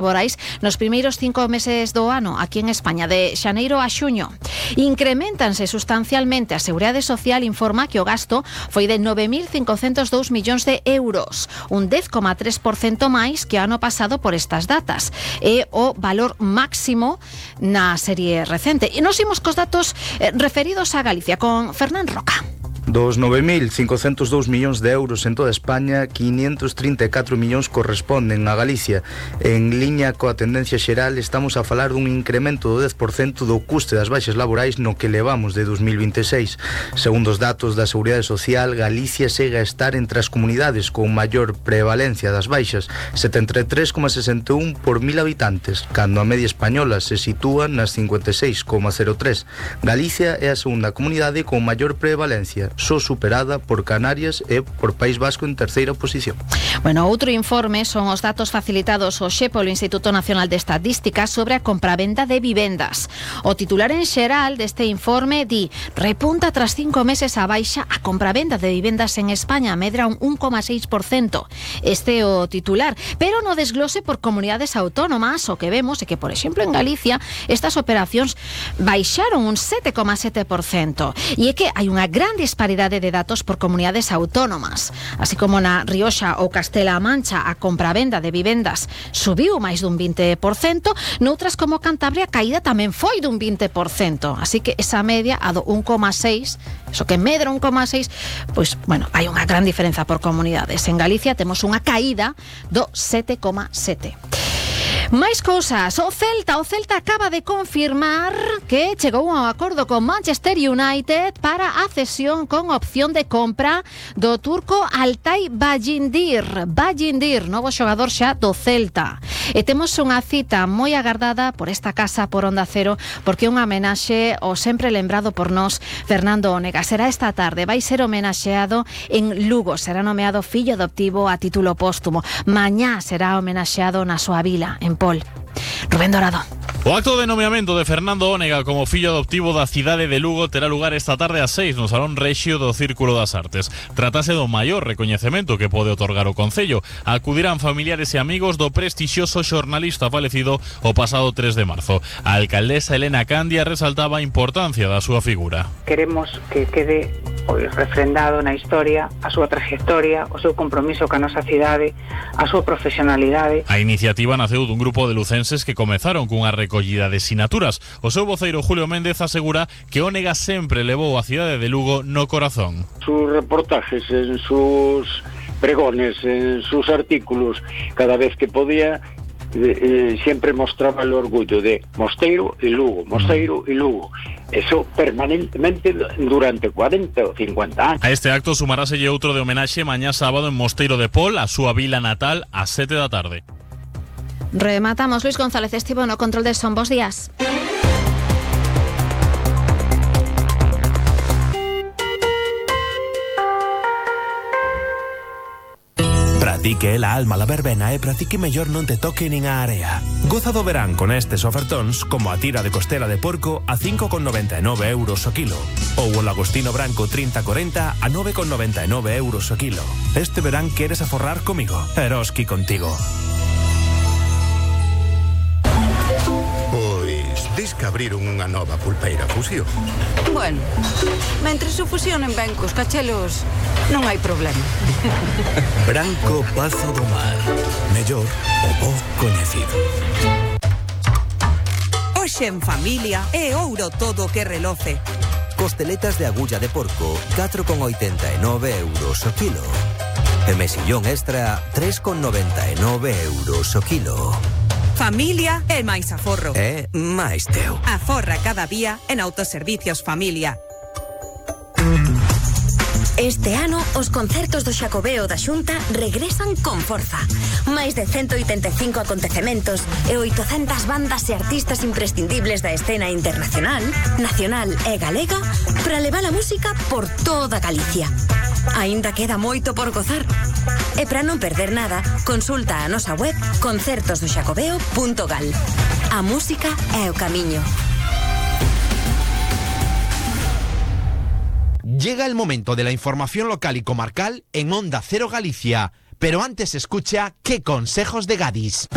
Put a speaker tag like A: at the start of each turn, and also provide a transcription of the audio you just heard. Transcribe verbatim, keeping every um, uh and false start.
A: laborais nos primeiros cinco meses do ano aquí en España, de xaneiro a xuño. Increméntanse sustancialmente. A Seguridade Social informa que o gasto foi de nove mil cincocentos dous millóns de euros, un dez coma tres por cento máis que o ano pasado por estas datas. É o valor máximo na serie recente. E nos imos cos datos eh, referidos a Galicia con Fernán Roca.
B: Dos nove mil cincocentos dous millóns de euros en toda España, quinientos trinta e catro millóns corresponden a Galicia. En liña coa tendencia xeral, estamos a falar dun incremento do dez por cento do custe das baixas laborais no que levamos de dos mil vinte e seis. Segundo os datos da Seguridade Social, Galicia segue a estar entre as comunidades con maior prevalencia das baixas, setenta e tres coma sesenta e un por mil habitantes, cando a media española se sitúa nas cincuenta e seis coma cero tres. Galicia é a segunda comunidade con maior prevalencia, só superada por Canarias e por País Vasco en terceira posición.
A: Bueno, outro informe son os datos facilitados hoxe polo Instituto Nacional de Estadística sobre a compravenda de vivendas. O titular en xeral deste informe di: repunta tras cinco meses a baixa a compravenda de vivendas en España, medra un un coma seis por cento. Este é o titular, pero no desglose por comunidades autónomas, o que vemos é que, por exemplo, en Galicia estas operacións baixaron un sete coma sete por cento. E é que hai unha gran disparidade de datos por comunidades autónomas. Así como na Rioxa ou Castela-A Mancha a compravenda de vivendas subiu máis dun vinte por cento, noutras como Cantabria a caída tamén foi dun vinte por cento. Así que esa media a do un coma seis, eso que medra un coma seis, pois, bueno, hai unha gran diferenza por comunidades. En Galicia temos unha caída do sete coma sete. Máis cousas. O Celta, o Celta acaba de confirmar que chegou a un acordo con Manchester United para a cesión con opción de compra do turco Altay Bayindir. Bayindir, novo xogador xa do Celta. E temos unha cita moi agardada por esta casa, por Onda Cero, porque é unha homenaxe ao sempre lembrado por nós Fernando Ónega. Será esta tarde, vai ser homenaxeado en Lugo, será nomeado fillo adoptivo a título póstumo. Mañá será homenaxeado na súa vila, en Pol. Rubén Dorado.
C: O acto de nomeamento de Fernando Ónega como fillo adoptivo da cidade de Lugo terá lugar esta tarde ás seis no Salón Rexio do Círculo das Artes. Tratase do maior recoñecemento que pode otorgar o Concello. Acudirán familiares e amigos do prestixioso xornalista falecido o pasado tres de marzo. A alcaldesa Elena Candia resaltaba a importancia da súa figura.
D: Queremos que quede pois refrendado na historia a súa trayectoria, o seu compromiso ca nosa cidade, a súa profesionalidade.
C: A iniciativa naceu dun grupo de lucenses que comezaron cunha recollida de sinaturas. O seu voceiro Julio Méndez asegura que Ónega sempre levou a cidade de Lugo no corazón.
E: Sus reportajes, en sus pregones, en sus artículos, cada vez que podía, eh, siempre mostraba el orgullo de Mosteiro y Lugo, Mosteiro y Lugo. Eso permanentemente durante cuarenta ou cincuenta anos.
C: A este acto sumaráselle outro de homenaxe mañá sábado en Mosteiro de Pol, a súa vila natal, ás sete da tarde.
A: Rematamos. Luis González estivo no control de son. Bos días.
F: Pratique la alma la verbena e pratique mellor non te toque nin a area. Goza do verán con estes ofertóns como a tira de costela de porco a cinco con noventa e nove euros o kilo ou o lagostino branco trinta cuarenta a nove con noventa e nove euros o kilo. Este verán queres aforrar comigo, Eroski contigo.
G: Dis que abriron unha nova pulpeira Fusión.
H: Bueno, mentres o fusionen ben cos cachelos, non hai problema.
F: Branco Pazo do Mar. Mellor o bo coñecido.
I: Hoxe en familia é ouro todo o que reloce.
J: Costeletas de agulla de porco, catro con oitenta e nove euros o kilo. E mesillón extra, tres con noventa e nove euros o kilo.
I: Familia é máis aforro.
J: É máis teu.
I: Aforra cada día en Autoservicios Familia.
K: Este ano, os concertos do Xacobeo da Xunta regresan con forza. Máis de ciento oitenta e cinco acontecementos e oitocentas bandas e artistas imprescindibles da escena internacional, nacional e galega para levar a música por toda Galicia. Aínda queda moito por gozar. E para non perder nada, consulta a nosa web concertos do xacobeo punto gal. A música é o camiño.
L: Llega el momento de la información local y comarcal en Onda Cero Galicia, pero antes escucha ¿Qué consejos de Gadis?